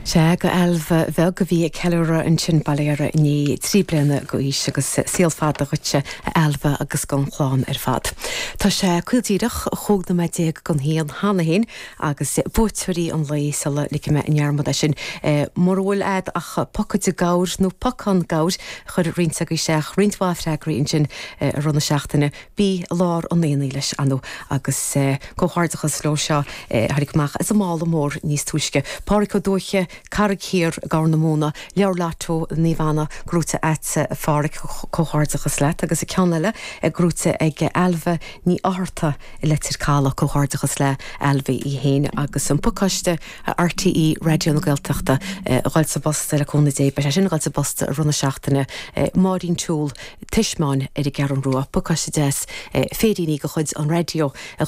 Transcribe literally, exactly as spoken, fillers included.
Sea go Ailbhe bheag a bhí ag ceiliúradh ansin bail ó Dhia uirthi inné trí bliana d'aois agus saol fada dhuitse a Ailbhe agus don chlann ar fad. Tá sé caol díreach chúig nóiméad déag don haon cheana féin agus buaiteoirí an lae sula ligfidh mé i ndearmad é sin. Mura bhfuil a'd ach pocad gabhair nó pocán gabhair chuir roinnt agaibh isteach roinnt mhaith freagraí ansin i rith na seachtaine bí i lár an aonaigh leis anú agus comhghairdeachas leo seo tháinig amach as an mála mór níos túisce. Pádraig Ó Dúiche, Carraig Thiar Gabhar na Móna, leabhar Lotto Naomh Anna gnóite agat a Phádraig comhghairdeachas leat agus a ceann eile gnóite ag Ailbhe Ní Fhátharta i Leitir Caladh comhghairdeachas le Ailbhe í féin agus an pacáiste RTÉ Raidió na Gaeltachta a dhul sa bpost le cúnamh Dé be sin gáil sa bpost i rith na seachtaine Máirín Toole Tismeáin ar an gCeathrú Rua pacáiste deas féiríní de chuid an raidió a